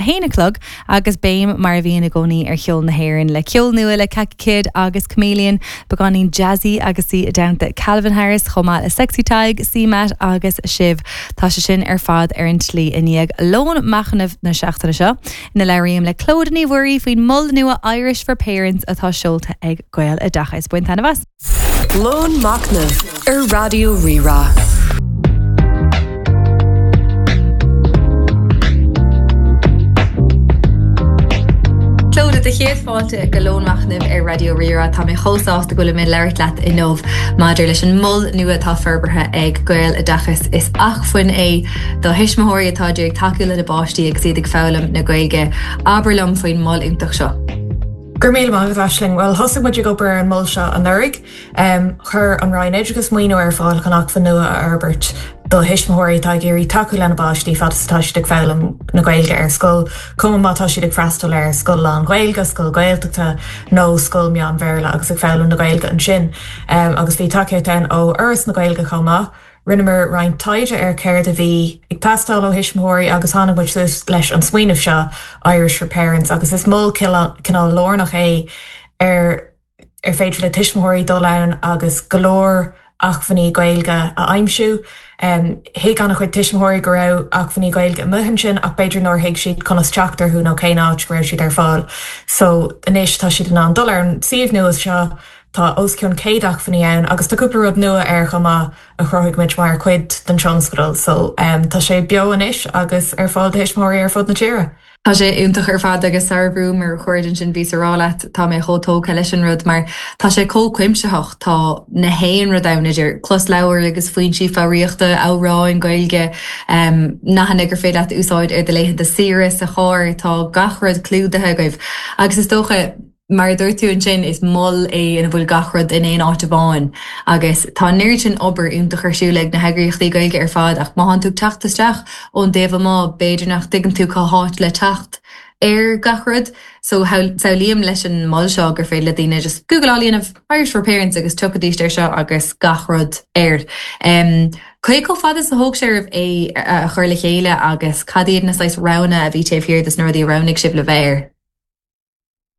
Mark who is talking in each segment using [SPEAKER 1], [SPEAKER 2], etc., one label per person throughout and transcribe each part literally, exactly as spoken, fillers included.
[SPEAKER 1] haon a chlog agus béim mar a bhíonn i gcónaí ar cheol na hÉireann le ceol nua le Kaki Kid agus Chameleon, beagáinín jazzy agus í i dteannta Calvin Harris chomh maith le Sexy Tadhg, CMAT agus Shiv. Tá sé sin ar fad ar an tslí i ndiaidh lón machnaimh na seachtaine seo. Ina labhraím le Clodagh Ní Mhuirí faoin mol nua Irish for Parents atá seolta ag Gaeloideachas bain taitneamh as.
[SPEAKER 2] Lón Machnaimh ar Raidió Rí-Rá.
[SPEAKER 1] Clodagh do chéad fáilte go Lón Machnaimh ar Raidió Rí-Rá Tá mé chomh sásta go bhfuil mé labhairt leat inniu maidir leis an mol nua atá forbartha ag Gaeloideachas is acmhainn é do thuismitheoirí atá ag tacú lena bpáistí agus iad ag foghlaim na Gaeilge. Abair liom faoin mol iontach seo.
[SPEAKER 3] Gur míle maith Aisling well thosaigh muid ag obair ar an mol seo anuraidh. Um, chuir an Roinn Oideachais maoiniú ar fáil chun acmhainn nua a fhorbairt do thuismitheoirí atá ag iarraidh tacú lena bpáistí fad is atá siad ag foghlaim na Gaeilge ar scoil, cuma má tá siad ag freastal ar scoil lán-Ghaeilge, scoil Gaeltachta nó scoil meán-Bhéarla agus ag foghlaim na Gaeilge ansin. Um, agus bhí tacaíocht ann ó Fhoras na Gaeilge chomh maith. Rinneamar roinnt taighde ar céard a bhí ag teastáil ó thuismitheoirí agus tháinig muid suas leis an smaoineamh seo Irish for Parents agus is mol cineál lárnach é ar ar féidir le tuismitheoirí dul ann agus go leor acmhainní Gaeilge a aimsiú. Um, Thuig an-chuid tuismitheoirí go raibh acmhainní Gaeilge amuigh ansin ach b'fhéidir nár thuig siad conas teacht orthu nó cén áit go raibh siad ar fáil. So anois tá siad in ann dul ar an suíomh nua seo Tá os cionn céad acmhainní ann agus tá cúpla rud nua air chomh maith a chruthaigh muid mar chuid den tionscadal, so um, tá sé beo anois agus ar fáil do thuismitheoirí ar fud na tíre.
[SPEAKER 1] Tá sé iontach ar fad agus sara bhrúmar chuid sin bhí rá leat tá mé chomh tógtha leis an rud mar tá sé chomh cuimsitheach tá na haon rud ann idir closleabhair agus foinsí foghraíochta amhráin Gaeilge um, nathanna gur féidir leat úsáid ar do laethanta saoire sa charr tá gach rud clúdaithe agaibh. Agus is dócha mar dúirt tú ansin is mol é ina bhfuil gach rud in aon áit amháin agus tá an oiread sin obair iontach ar siúl ag na heagraíochtaí Gaeilge ar fad ach má tánn tú teacht isteach ón dtaobh amuigh b'fhéidir nach dtuigeann tú cá háit le teacht ar gach rud so samhlaím leis an mol seo gur féidir le daoine just Google á dhéanamh Irish for Parents agus tiocfaidís air seo agus gach rud air. Um, Cé chomh fada is a thóg sé oraibh é a chur le chéile agus cad iad na saghas roghanna a bhí taobh thiar des na rudaí a roghnaigh sibh le bheith air.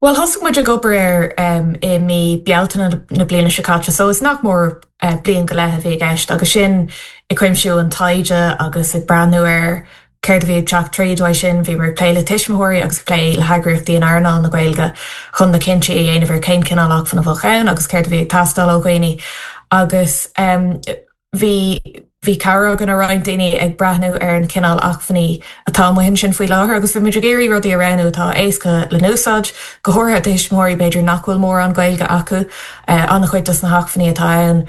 [SPEAKER 3] Well thosaigh muid ag obair air um, i mí Bealtaine na bliana seo caite, so is nach mór uh, bliain go leith a bhí i gceist agus sin ag cuimsiú an taighde agus ag breathnú ar céard a bhí ag teacht tríd uaidh sin bhí ag plé le tuismitheoirí agus plé le heagraíochtaí in earnáil na Gaeilge chun na cinntí a dhéanamh ar cén cineál acmhainn a bheadh ann agus céard a bhí ag teastáil ó dhaoine agus um, bhí bhí cabhair againn ó roinnt daoine ag breathnú ar an cineál acmhainní atá amuigh ansin faoi láthair agus bhí muid ag iarraidh rudaí a roghnú atá éasca le n-úsáid, go háirithe do thuismitheoirí b'fhéidir nach bhfuil mórán Gaeilge acu uh, an-chuid dos na hacmhainní atá ann.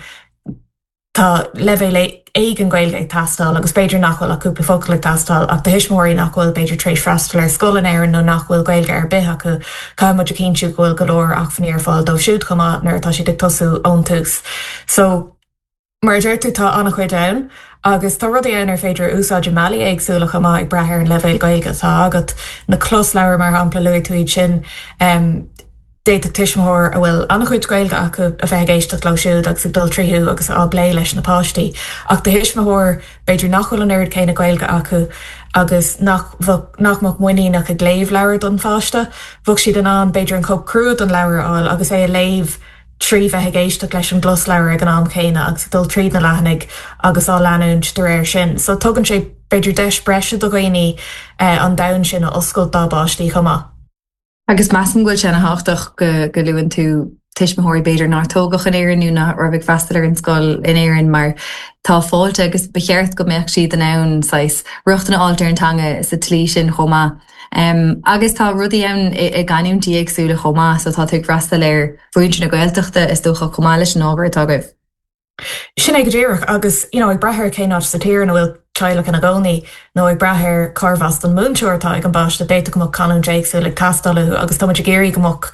[SPEAKER 3] Tá leibhéal éigin Gaeilge ag teastáil agus b'fhéidir nach bhfuil ach cúpla focal ag teastáil ach do thuismitheoirí nach bhfuil b'fhéidir tar éis freastal ar scoil in Éirinn nó nach bhfuil Gaeilge ar bith acu caithfidh muid a chinntiú go bhfuil go leor acmhainní ar fáil dóibh siúd chomh maith nuair atá siad ag tosú ón tús. So Mar deir tú tá an-chuid ann, agus tá rudaí ann ar féidir úsáid i mbealaí éagsúla chomh maith ag brath ar an leibhéal Gaeilge atá agat. Na closleabhair mar shampla luaigh tú iad sin um, d'fhéadfadh tuismitheoir a bhfuil an-chuid Gaeilge acu a bheith ag éisteacht leo siúd agus ag dul tríothu agus á bplé leis na páistí. Ach do thuismitheoir b'fhéidir nach bhfuil an oiread céanna Gaeilge acu agus nach nach mbeadh muiníneach ag léamh leabhar don pháiste, bheadh siad in ann b'fhéidir an cóip crua den leabhar a fháil agus é a léamh trí bheith ag éisteacht leis an gclosleabhar ag an am céanna agus dul tríd na leathanaigh agus á leanúint de réir sin. So tugann sé b'fhéidir deis breise do dhaoine eh, an domhan sin a oscailt dá bpáistí chomh maith.
[SPEAKER 1] Agus measaim go bhfuil sé an-tábhachtach go go luann tú tuismitheoirí b'fhéidir nár tógadh in Éirinn nó nach raibh ag freastal ar an scoil in Éirinn mar tá fáilte agus ba cheart go mbeadh siad in ann saghas rochtain a fháil ar an teanga sa tslí sin chomh maith. Um, agus tá rudaí ann i, i gcanúintí éagsúla chomh maith, so tá tú ag freastal ar mhuintir na Gaeltachta is dócha chomh maith leis an ábhar atá agaibh.
[SPEAKER 3] Sin é go díreach agus you know, ag brath ar cén áit sa tír ina bhfuil teaghlach ina gcónaí nó ag brath ar cárbh as don mhúinteoir atá ag an bpáiste b'fhéidir go mbeadh canúint éagsúil ag teastáil uathu agus tá muid ag iarraidh go mbeadh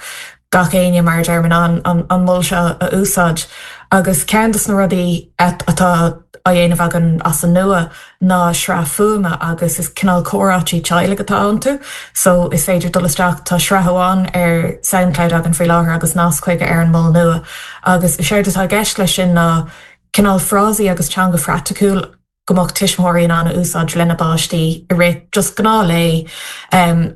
[SPEAKER 3] gach éinne mar a deirim an, an, an mol seo a úsáid. Agus ceann des na rudaí atá á dhéanamh againn as an nua ná sraith fuaime agus is cineál comhráití teaghlaigh atá iontu, so is féidir dul isteach tá sraith amháin ar SoundCloud againn faoi láthair agus nasc chuige ar an mol nua. Agus is éard atá i gceist leis sin ná cineál frásaí agus teanga phraiticiúil go mbeadh tuismitheoirí in ann a úsáid lena bpáistí i rith just gnáthlae um,